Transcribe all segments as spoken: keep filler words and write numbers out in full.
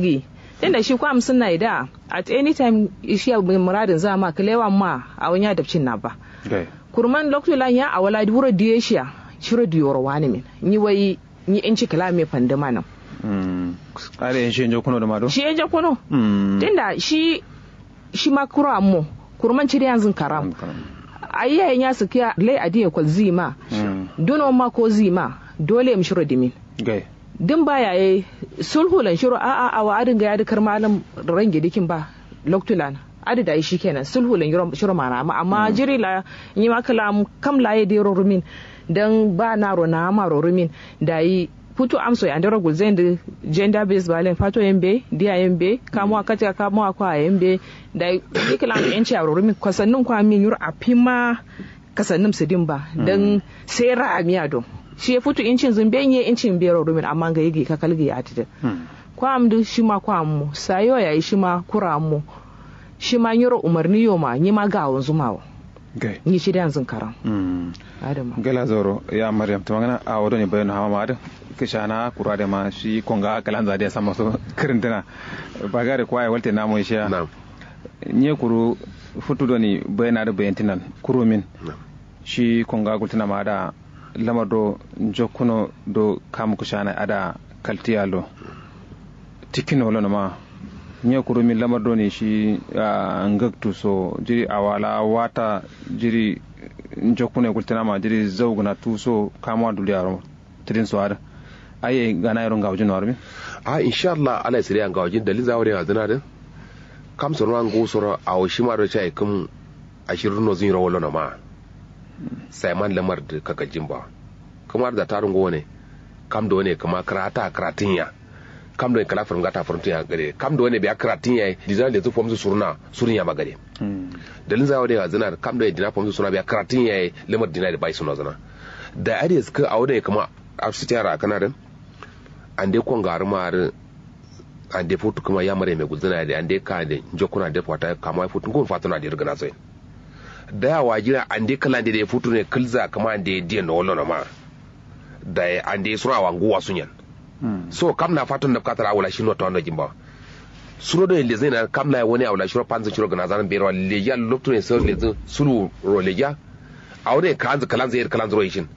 gi. Tunda shi kwa amsǝnna ye da at any time. Shiya muradǝnzǝ amma kǝlewa ma awo nya dapcinna ba. Kurman loktu lan ya awo la wuro diye shiya shiro diyoro wani min. Nyi wai nyi inci kǝla me fandǝma nǝm. Adǝ yen shi ye njokkuno dǝma do shi ye njokkuno. Tunda shi shima kuro ammo kurman cidiyanzǝn karam. Ayi yaye nya sǝkkiya lai adiye kolzǝ yima. Duno ma kozǝ yima dole yim shiro dimin. Dǝn ba yaye sulhu lan shiro a'a awo adǝ ngai adǝ kǝrma alǝm range dǝkin ba loktu lan adǝ dayi shikenan sulhu lan shiro mana amma amma jiri la nyima kǝla kam la ye dero rumin. Dan ba naro na amaro rumin dayi futu amso ye andero gulzain dǝ gender base violence fato yen be diya yen be kamuwa katika kamuwa kwa yen be. Dayi dǝ kǝla am enci aro rumin kasannum kwa min nyiro afima. Kasannum sǝdin ba dan sai ra'amiya do shi ye futu incin zǝn be nyi ye incin be ro rumin amma ngai gi kakal gi atidǝ. Kwa am dǝ shima kwa ammo sayo yayi shima kura ammo. Shima nyiro umarni yo ma nyima gawonzuma wo. Nyi cidiyanzǝn karam. Adǝ ma gala zauro ya maryam tǝmangǝna awo done baino hama ma adǝ. Kǝshana kuru adǝ ma shi konga kǝlanza adǝ ya samma so kǝrǝntǝna. Bagare kwa ye walte namo ye shiya. Nye kuru futu doni baina dǝ baintinan kurumin. Shi konga gultǝna ma adǝ lamar do njokkuno do kamu kǝshana adǝ kaltiya lo. Tikkino lono ma nye kurumin lamar doni shi ngaktu so jiri awala wata jiri njokkuno ye gultǝna ma jiri zaugǝna tuso kamuwa duliyaro. Tǝdin so adǝ aye gana yero ngawujin no arumin. A insha allah ala ye sǝriya ngawujin dalin za wure azǝna dǝ. Kam soro ma nguwu soro awo shima do caye kǝm. Ashirǝ no zǝnyiro wolono ma. Saiman lamar dǝ kakaljin ba. Kǝma dǝ za taru nguwo ne. Kam do ne kǝma kǝrata kǝratǝnya. Kam do ne kǝla fǝrǝmgata fǝrǝmtǝnya gade kam do ne biya kǝratǝnya ye dizǝna lezǝ fomzǝ surna. Surnya ma gade. Dalin za wure azǝna dǝ kam do ne dina fomzǝ surna biya kǝratǝnya ye lamar dina dǝ bai suno zǝna. Da adǝ ye sǝkǝ awo do ne kǝma. Afsitiya rakana dǝn. Ande kongarǝma adǝ. Ande futu kǝma yamare me gulzǝna adǝ ande ka ande njokkuna ande fata kamuwa ye futu ngun fatuna adǝ rǝgǝna soyin. Dai awo ajira ande kǝlande dai futu ne kǝlza kǝma ande diyen no wallono ma. Dai ande suro awa nguwa sunyen. So kam na fatun nabkatara awula shi notowando jimbawa. Suro done lezǝ ina kam laye wani awula shiro fanzǝ shiro gǝnazan bero lejiya loktu ne suro lezǝ sulu ro lejiya. Awo done kǝlanzǝ kǝlanzǝ yedǝ kǝlanzǝ ro ishin.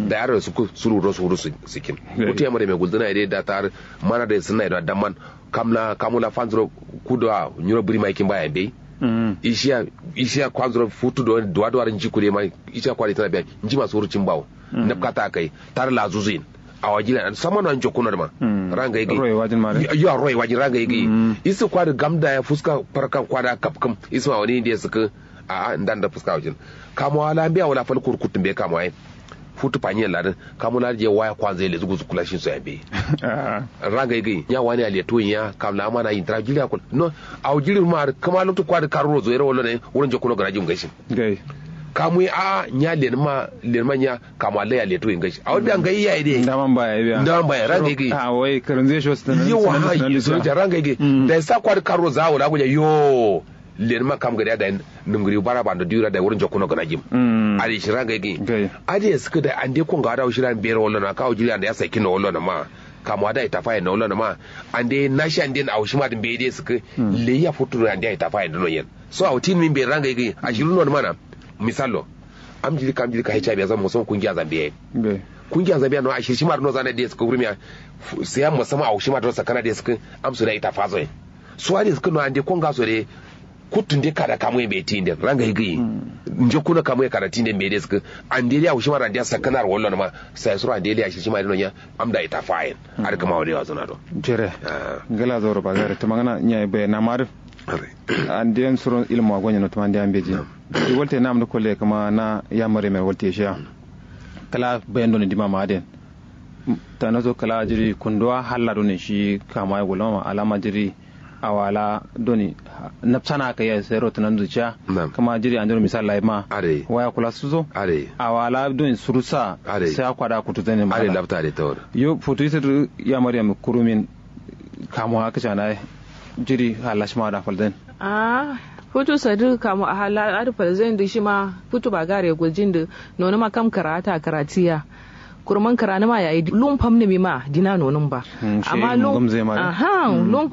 Dai adǝ ro sukku sulu ro suru sǝkkin. Futu yamare me gulzǝna ye dai data adǝ mana done sǝnna ye done damman. Kam la kamu la fanzuro kudo a nyiro bǝri ma ikin ba ya mbeyi. Ishiya ishiya kwanzuro futu do duwa duwa nji kude ma. Ishiya kwade tana biya nji ma suru cin bawo. Nabkata kai tar la zuzuyin. Awa jila samano an jokkuno dǝ ma. Ranga igi. Yo aroi wajin ranga igi. Isu kwade gamda ya fuska farkan kwada kapkǝm. Isu ma wani inde sukǝ. A'a ndan da fuska wajin. Kamuwa la mbeya wala fal kurkuttu mbeyi kamuwa ye. Futu fanyi yalla dǝ kamu la dǝ je waya kwanza yelle zugu zukkula shin so ya mbeyi. Ranga igi nya wani ya letuwin ya kam la amana yintǝra jiri ya kul no. Awo jiri ma dǝ kǝma loktu kwa dǝ karuro zoyero wallo ne. Wuro njokkuno gǝna jim ngai shin. Kamu ye a'a nya lenǝma lenǝma nya. Kamu wa lai ya letuwin ngai shin awo biya ngai yayi dǝ ye. Ndaman ba yayi biya ranga igi. Awo ye kǝrǝnzǝ ye sho sǝnanǝ. Yawa ha yi sǝnanǝ ranga igi. Dai sa kwa dǝ karuro za wala guja yoo. Lenǝma kam gade ya dai. Nǝmgǝriwu bara bando diwura dai wuro njokkuno gǝna jim. Adǝ ye shira ngai gǝnyi. Adǝ ye sǝkkǝ dai ande konga adǝ awo shira mbero wallono a kawo jiri ande ya saikkinno wallono ma. Kamuwa dai tafayenno wallono ma. Ande nashi ande awo shima dǝ mbeyi dǝ ye sǝkkǝ. Leyi ya futturo ande ya tafayenno yen. So awo tinǝmi mbeyi ra ngai gǝnyi ashiru nonǝma na. Misallo. Am jiri kam jiri ka hiv ya zan musamman kungiya zambiya ye. Kungiya zambiya no ashir shima dǝ nozana dǝ ye sǝkkǝ wurmiya. Sai ya musamman awo shima dǝ no sakkana dǝ ye sǝkkǝ. Am so dǝ ya itafazo ye. So adǝ ye sǝkkǝ no ande konga so dǝ ye. Kuttu nde kada kamu ye mbeyi ti nden ranga ye gǝyi. Njokkuno kamu ye kada ti nden mbeyi de sǝkkǝ. Ande de awo shima ro ande ya sakkanaro wallono ma. Sai suro ande de ya shishima de nonya. Am da ita fayen. Adǝ kǝma wani wazǝna do. Jere. Ngla zauro bagare tǝmangǝna nya ye bayanna ma adǝ. Ande yen suro ilmu wa gonyeno tǝma ande ya mbeji. Dǝ walte nam dǝ kolle kǝma na yamare me walte shiya. Kǝla bayan done dima ma adǝ yen. Tanaso kǝla jiri kunduwa halla done shi kama ye gulama ma alama jiri. Awala doni nabsana kaiya sai rotunanzu ciya. Kǝma jiri andero misal layi ma. Waya kula suso. Awala doni surusa. Sai akwa da kutu zane ma. Yo futu isir ya maryam kurumin. Kamu haka shana jiri halla shima da falzan. Ahh futu sadu kamu halla adu falzan du shima. Futu bagare guljin du. Nonuma kam kǝrata kǝratiya. Kurman kǝranǝma yayi lum famnǝmi ma dina nonǝm ba. Amma lum. Ahh lum fam.